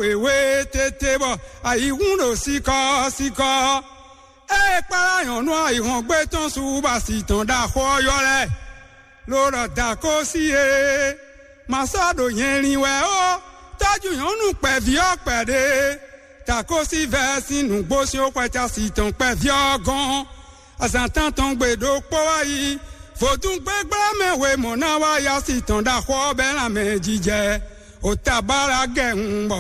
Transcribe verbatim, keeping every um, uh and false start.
wěwé tete bɔ ayǐhún ɖo sikɔ sikɔ. Ée kpára nyɔ̌nu ayǐhɔ́ngbe tɔn su bɔ asi tɔn ɖo axɔ ɔ́ ylɔ́ lɛ́ɛ, ló ɖɔ: Dakósi e, ma sɔ́ ɖo nyɛ lin wɛ ó, tɔ́jú nyɔ̌nu kpɛví ɔ́ kpɛɖé. Dakósi vɛ́ sín nǔgbó sín xwɛcasi tɔn kpɛví ɔ́ gɔ́n. Azǎn tántɔn gbe ɖokpó wá yi, vodún gbégblémɛ wěmɔ́ ná wá yi asi tɔn ɖo axɔ ɔ́ bɛ́ lanmɛ jijɛ. Otabalagɛ hun bɔ